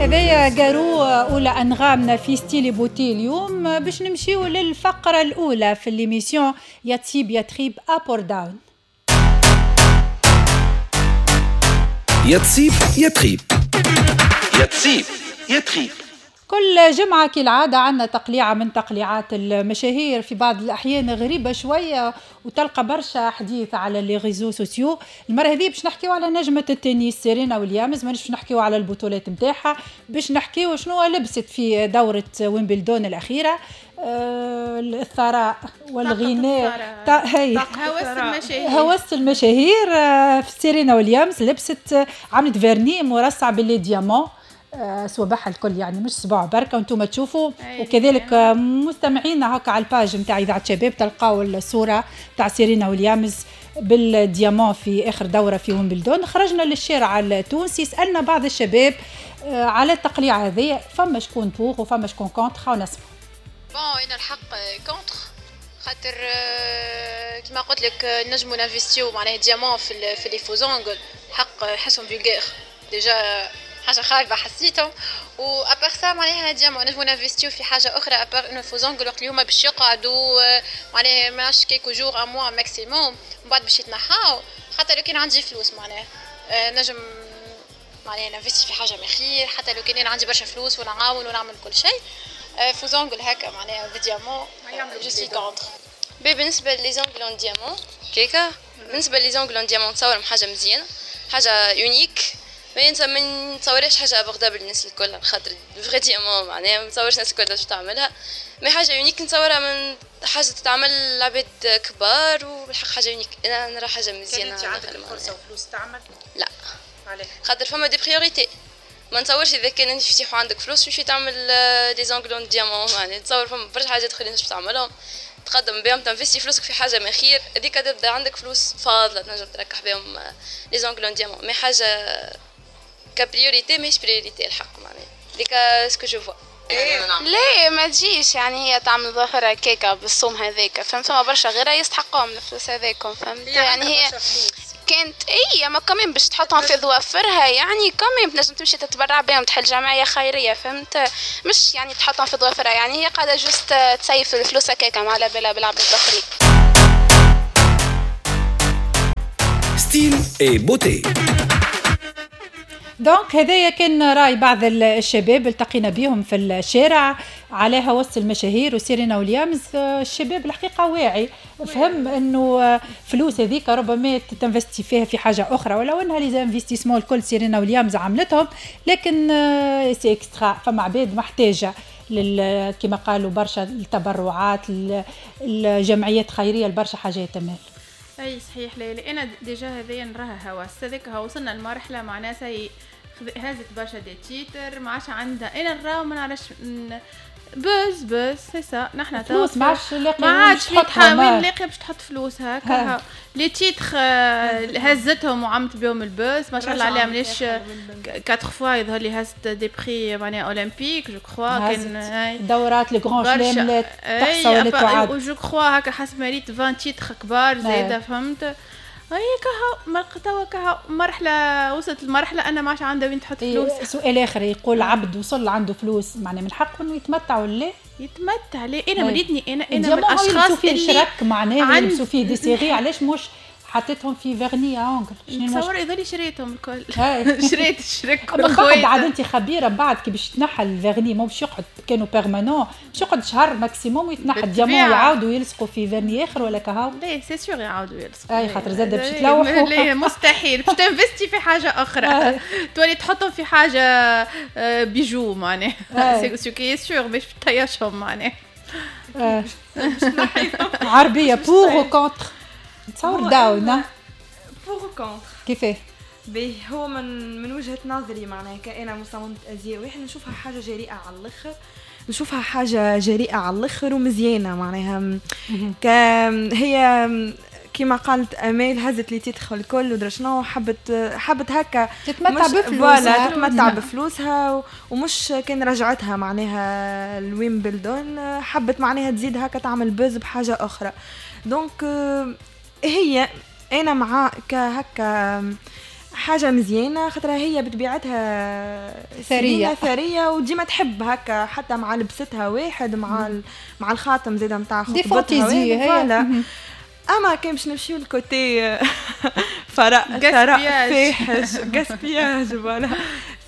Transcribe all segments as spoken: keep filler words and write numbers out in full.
هذايا جارو اولى انغامنا في style beauté اليوم. باش نمشيو للفقرة الاولى في l'émission يا تصيب يا تخيب up or down. يا تصيب يا تخيب، يا تصيب يا تخيب. كل جمعة كالعادة عندنا تقليعة من تقليعات المشاهير، في بعض الأحيان غريبة شوية وتلقى برشا حديث على les réseaux sociaux. المرة هذه باش نحكيو على نجمة التنس سيرينا ويليامز، مانيش باش نحكيو على البطولات نتاعها، باش نحكيو شنو لبست في دورة ويمبلدون الأخيرة. آه الثراء والغناء، هي هوس المشاهير، هوس المشاهير. آه في سيرينا ويليامز لبست، عملت vernis مرصع ب les diamants، صوابعها الكل، يعني مش صباع بركة وانتم تشوفوا. وكذلك مستمعينا هكا على ال page نتاع اذاعة شباب تلقاو الصورة تاع سيرينا ويليامز بال diamant في اخر دوره في ويمبلدون. خرجنا للشارع التونسي، سالنا بعض الشباب على التقليع هذه، فما شكون pour وفما شكون contre. خاو نسمع. bon انا الحق contre، خاطر كيما قلت لك نجمو نانفستيو معناها diamant في في les faux ongles، الحق حسهم vulgaires déjà، حاجة خايبة حسيتهم. و à part ça معناها diamant نجمو نانفستيو في حاجة اخرى à part انه faux ongles وقت اليوم باش يقعدوا معناها ماش quelques jours un mois maximum، من بعد باش يتنحاو. حتى لو كان عندي فلوس معناها نجم معناها نانفستي في حاجة ما خير، حتى لو كان عندي برشا فلوس ونعاون ونعمل كل شيء. faux ongles هكا معناها ب diamant je suis contre. بالنسبة les ongles en diamant كيكا، بالنسبة les ongles en diamant تصورهم حاجة مزيانه، حاجة unique، ما ما نتصورش حاجة abordable للناس الكل، خاطر vrai diamant معناها ما نتصورش الناس الكل باش تعملها، mais حاجة unique نتصورها من حاجة تتعمل لعباد كبار، وبالحق حاجة unique انا نرى حاجة مزيانه. انت عندك الفرصة وفلوس تعمل؟ لا، علاش؟ خاطر فما des priorités، ما نتصورش اذا كان انت يفتحوا عندك فلوس تمشي تعمل des ongles en diamant، معناها نتصور فما برشا حاجات اخرين باش تعملهم، تقدم بهم تنفستي فلوسك في حاجة من خير، هذيك تبدا عندك فلوس فاضلة تنجم تركح بهم les ongles en diamant، mais حاجة ك priorité ماهيش priorité الحق معناها ديك ce que je vois. لا ما تجيش، يعني هي تعمل ظهرها كيكة بالصوم هذاك، فهمت؟ فما برشا غيرها يستحقوهم الفلوس هذاكم، فهمت؟ يعني هي كانت اي ما كمان باش تحطهم في ظوافرها، يعني كمان تنجم تمشي تتبرع بهم، تحل جمعية خيرية، فهمت؟ مش يعني تحطهم في ظوافرها، يعني هي قاعدة juste تسيف الفلوس هكاكا ما على بالها بالعباد الاخرين. style et beauté. donc هذايا كان راي بعض الشباب التقينا بهم في الشارع على هوس المشاهير وسيرينا ويليامز. الشباب الحقيقة واعي، فهم انه فلوس هذيك ربما تنفستي فيها في حاجة اخرى، ولو انها les investissements الكل سيرينا ويليامز عملتهم، لكن c'est extra. فما عباد محتاجه لل كما قالوا برشا التبرعات، الجمعيات الخيرية، لبرشا حاجات. تمام اي صحيح ليلى، انا déjà هذايا نراها هوس هذاك، وصلنا لمرحلة معناها سي هزت برشا des titres ما عادش عندها، انا نراو ما نعرفش buzz buzz c'est ça. نحنا فلوس ما عادش لاقي، ما عادش وين لاقي باش تحط فلوس هكا. les titres هزتهم وعملت بهم ال buzz ما شاء الله عليها، مليش quatre fois يظهر لي هزت des prix معناها olympiques je crois، كان دورات les grands chelems لا تحصى ولا تعاد، je crois هكا حسب ما ريت عشرين titres كبار زايدة، فهمت؟ هي كهو توا كهو مرحلة، وصلت المرحلة انا ما عادش عندها وين تحط فلوس. سؤال اخر يقول عبد وصل عنده فلوس، معناه من حقه انه يتمتع ولا يتمتع؟ ليه انا مريتني انا انا من الاشخاص اللي شرك معناه يلبسوا فيه des séries، علاش مش حطيتهم في vernis à ongles؟ نتصور يظل شريتهم الكل شريت الشرك من بعد. عاد انت خبيرة بعد كي باش تنحى ال vernis، مو باش يقعد كانوا permanent، باش يقعد شهر maximum ويتنحى ال diamant ويعاودوا يلصقوا في vernis اخر ولا كهو؟ لا c'est sûr يعاودوا يلصقوا، اي خاطر زاد باش تلوحوا. لا مستحيل باش تنفستي في حاجة اخرى تولي تحطهم في حاجة bijoux معناها c'est ce qui est sûr باش تطيشهم معناها. عربية pour ou contre؟ تصور down pour contre كيفاه؟ باهي هو من من وجهة نظري معناها كأنا مصممة أزياء واحد نشوفها حاجة جريئة على الآخر، نشوفها حاجة جريئة على الآخر ومزيانة معناها. ك هي كما قالت امال هزت les titres الكل ودرا شنو، حبت حبت هكا تتمتع بفلوسها، تتمتع بفلوسها، ومش كان رجعتها معناها الويمبلدون، حبت معناها تزيد هكا تعمل buzz بحاجة أخرى. donc هي انا مع كهكا حاجة مزيانه خاطرها هي بطبيعتها ثرية ثرية وديما تحب هكا، حتى مع لبستها واحد مع مع الخاتم زاده نتاع خطبتها voilà. اما كان باش نمشيو لل côté ثراء ثراء فاحش gaspillage voilà،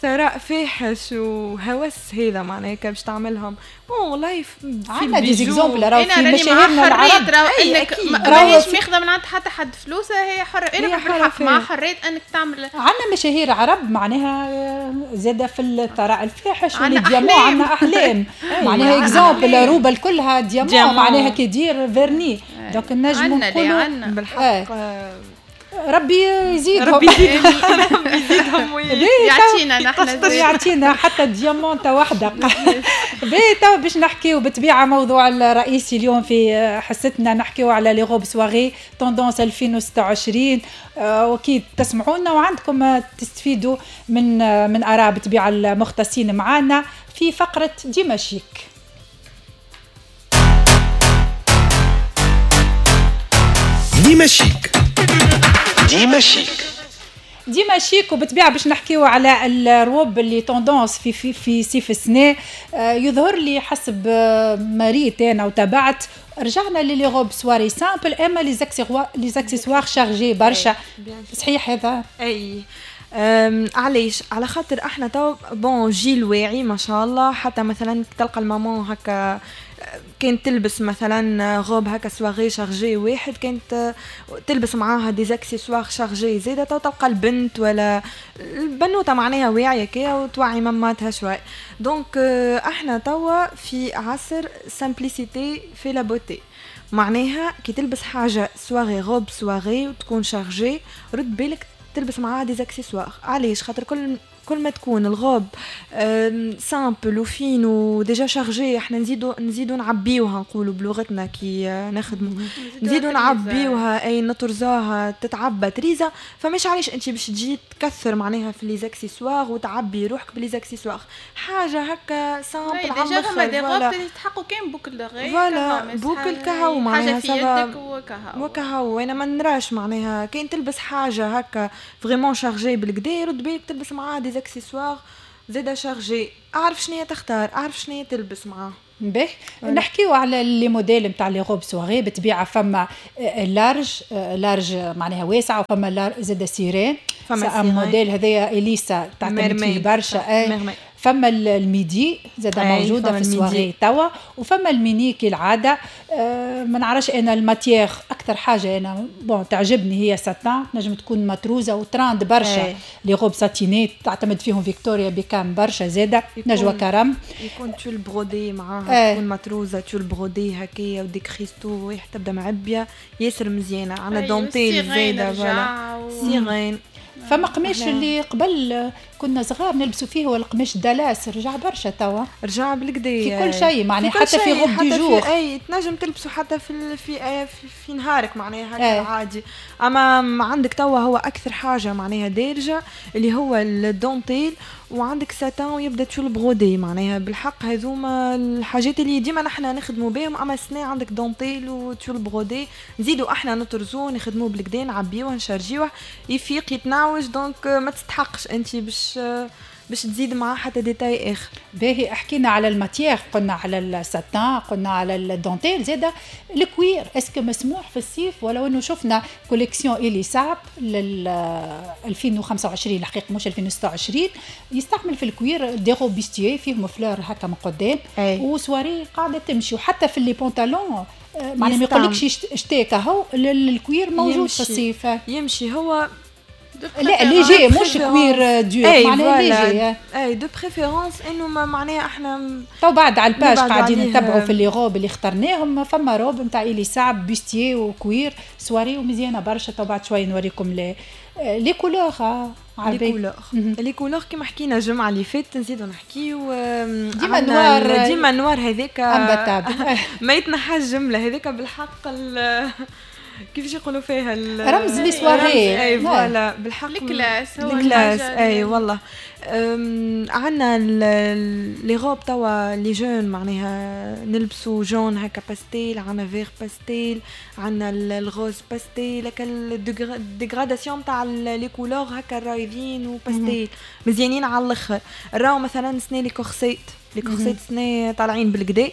ثراء فاحش وهوس هذا معناها باش تعملهم bon والله عندنا des exemples راهو في مشاهيرنا العرب انك ماهيش ماخذه من عند حتى حد فلوسها، هي حره. انا بالحق مع حرية انك تعمل. عندنا مشاهير عرب معناها زاده في الثراء الفاحش وال diamant، عندنا احلام معناها exemple روبه كلها diamant معناها كي دير vernis donc نجمو نقولوا بالحق ربي يزيدهم ربي يزيدهم ربي يزيدهم يعطينا نحن يعطينا حتى diamant واحدة. باهي تو باش نحكيو بالطبيعة موضوع الرئيسي اليوم في حصتنا، نحكيو على les robes soirée tendance ألفين وستة وعشرين. واكيد تسمعونا وعندكم تستفيدوا من من اراء بالطبيعة المختصين معانا في فقره ديما شيك. ديما شيك ديما شيك ديما شيك. وبالطبيعه باش نحكيو على الروب اللي tendance في في في صيف السنة. يظهر لي حسب ما ريت انا وتابعت رجعنا les robes soirée simples، اما les accessoires les accessoires chargés برشا. صحيح هذا؟ اي علاش؟ على خاطر احنا تو bon جيل واعي ما شاء الله، حتى مثلا تلقى ال maman هكا كانت تلبس مثلا غوب هكا soirée chargée واحد، كانت تلبس معاها des accessoires chargés زاده، تو تلقى البنت ولا البنوته معناها واعية كي وتوعي ماماتها شوي. donc احنا توا في عصر simplicité في la beauté، معناها كي تلبس حاجة soirée robe soirée وتكون chargée رد بالك تلبس معاها des accessoires. علاش؟ خاطر كل كل ما تكون ال robe simple و fine و déjà chargée احنا نزيدو نزيدو نعبيوها، نقولوا بلغتنا كي نخدموا نزيدو نعبيوها اي نطرزوها تتعبى تريزه. فمش علاش انت باش تجي تكثر معناها في les accessoires وتعبي روحك ب les accessoires، حاجة هكا simple على الاخر. déjà des robes يتحقوا كان boucles d'oreilles voilà boucles كهو معناها حاجة في يدك وكهو وكهو. انا ما نراش معناها كاين تلبس حاجة هكا vraiment chargée بالكدا رد بالك تلبس معاها des accessoires زاده chargés. اعرف شنو تختار، اعرف شنو تلبس معاه. باهي نحكيو على les modèles نتاع les robes soirée. بالطبيعة فما large large معناها واسعة، وفما زاده sirène، فما موديل هذايا اليسا تعتمد فيه برشا. فما ال midi زاده موجودة في السواري توا، وفما الميني كالعادة. أه ما نعرفش انا ال matière اكثر حاجة انا bon تعجبني هي ساتان، نجم تكون متروزه وتراند برشا. les robes satinées تعتمد فيهم فيكتوريا بيكام برشا زاده، نجوى كرم يكون tulle brodé معاها، تكون متروزه tulle brodé هكايا و des cristaux واحد تبدا معبيه ياسر مزيانه. عندنا دونتيل زاده voilà sirène. فما قماش اللي قبل كنا صغار نلبسوا فيه هو القماش دالاس، رجع برشا توا، رجع بالكدا في كل شيء معناها حتى في robe de jour. اي تنجم تلبسوا حتى في في في, في نهارك معناها هكا عادي. اما عندك توا هو اكثر حاجة معناها دارجه اللي هو الدونتيل، وعندك ساتان ويبدا tulle brodé معناها بالحق هذوما الحاجات اللي ديما نحنا نخدموا بهم. اما السنة عندك dentelle و tulle brodé نزيدوا احنا نطرزوه نخدموه بالكدا نعبيوه نشارجيوه يفيق يتنعوج. donc ما تستحقش انت باش باش تزيد معاه حتى détail اخر. باهي حكينا على ال matière، قلنا على الساتان، قلنا على الدونتيل، زاده ال cuir est-ce que مسموح في الصيف؟ ولو انه شفنا collection الي صعب لل ألفين وخمسة وعشرين الحقيقة مش ألفين وستة وعشرين، يستعمل في ال cuir des robes bustier فيهم fleurs هكا من قدام وسواري قاعدة تمشي، وحتى في les pantalons معناها ما يقولكش اشتاك اهو ال cuir موجود في الصيف يمشي هو. لا léger مش cuir dur معناها léger اي de préférence انه معناها احنا تو بعد على ال page قاعدين نتبعوا في les robes اللي اخترناهم. فما روب نتاع الي صعب bustier و cuir soirée ومزيانه برشا. تو بعد شوية نوريكم les les couleurs. les couleurs les couleurs كيما حكينا الجمعة اللي فاتت نزيدو نحكيو ديما noir، ديما noir هذاك ما يتنحاش جملة هذاك بالحق. كيفاش يقولوا فيها؟ رمز les soirées. اي voilà، بالحق ال classe. هو ال classe، اي والله. عندنا les robes توا les jeunes، معناها نلبسوا jaune هكا باستيل، عندنا vert pastel، عندنا ال rose pastel، هكا dégradation تاع les couleurs هكا رايضين وباستيل، مزيانين على الاخر. راهو مثلا سني les corsets، les corsets سني طالعين بالقدا.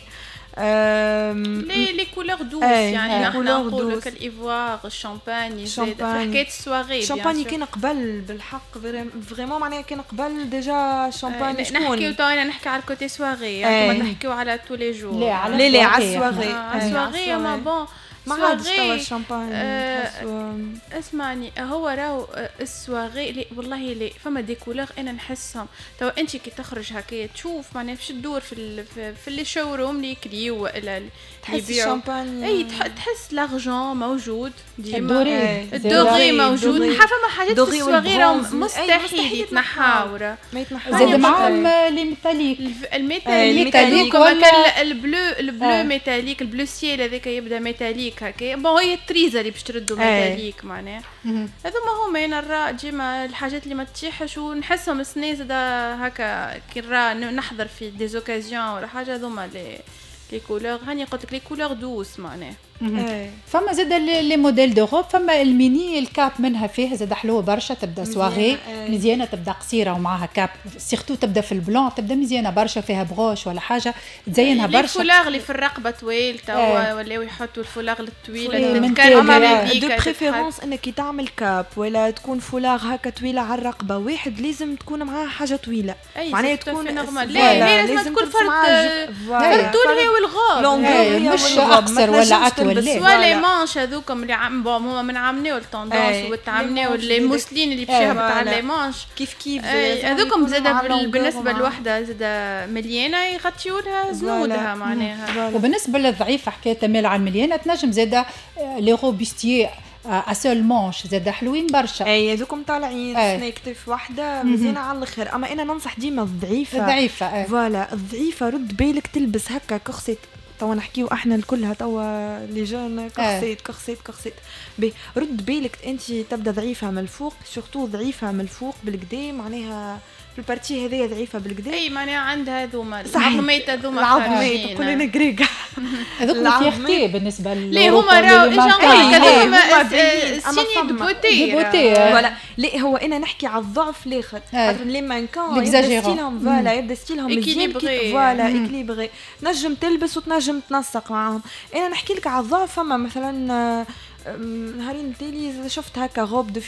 les les couleurs douces، يعني نحن نقولوا ال ivoire، ال champagne، في حكاية السواري. الشامباني كان قبل بالحق vraiment، معناها كان قبل déjà ال champagne. شكون نحكيو تو؟ انا نحكي على ال côté soirée، يعني نحكيو على tous les jours. لا، على لا، على السواري. على السواري، ما bon. ما عادش توا الشامباني. آه اسمعني، هو راهو السواغي لي والله لي فما des couleurs انا نحسهم توا انت كي تخرج هكا تشوف، معناها باش تدور في ال في, في les showrooms اللي يكريو والا اللي تحس الشامباني. اي، تحس l'argent موجود ديما، ال doré موجود. فما حاجات في السواغي راهم مستحيل يتنحاو. ما يتنحاو. زاد معاهم les métalliques. ال métallique، ال bleu، ال bleu métallique، ال bleu ciel هذاك يبدا métallique هكا. bon، هي التريزه اللي باش تردو métallique، معناها هذوما هما. انا نرى ديما الحاجات اللي ما تطيحش ونحسهم السنة زادا هكا كي نرى نحضر في des occasions ولا حاجه، هذوما les les couleurs، هاني قلت لك les couleurs douces معناها. فما زاد les modèles de robes، فما ال mini، ال cape منها فيها زاد حلوة برشا، تبدا سواغي مزيانه، تبدا قصيرة ومعاها cape، surtout تبدا في ال blanc، تبدا مزيانه برشا، فيها بغوش ولا حاجة تزينها برشا. الفولاغ اللي في الرقبة طويل، توا ولاو يحطوا الفولاغ الطويلة. تتكرر. de préférence انك كي تعمل cape ولا تكون فولاغ هكا طويلة على الرقبة واحد، لازم تكون معاها حاجة طويله. معناها تكون normal، لا لازم تكون فرد فرد طول هي والغوب. مش اقصر ولا اطول. soit les manches هذوكم اللي عم bon هما من عمناو ال tendance وتعمناو les mousselines اللي باش يهبط على les manches. كيف كيف. هذوكم زاد بالنسبة لوحده زاد مليانة يغطيوا لها زنودها معناها. وبالنسبة للضعيفه، حكاية تمال على المليانه، تنجم زاد les robes bustier à seules manches زاد حلوين برشا. اي، هذوكم طالعين سنيك واحدة مزيانه على الاخر. اما انا ننصح ديما الضعيفه. الضعيفه. voilà، الضعيفة رد بالك تلبس هكا كورسيت. توا نحكيو احنا الكلها توا les jeunes، corset corset corset. بي رد بالك انت تبدا ضعيفة من الفوق، surtout ضعيفة من الفوق بالقدا، معناها في ال partie هذيا ضعيفة بالقدا. اي، معناها عندها هذوما العظميت هذوما. العظميت، تقول انا قريقه. هذوك fierté بالنسبة. لي هما راهو اجا signe de beauté. beauté. voilà. لا، هو انا نحكي على الضعف الاخر، خاطر les mannequins يبدا style هم، voilà، يبدا style هم مزيان، voilà، équilibré، نجم تلبس وتنجم تنسق معاهم. انا نحكي لك على الضعف. فما مثلا نهارين تالي شفت هكا robe de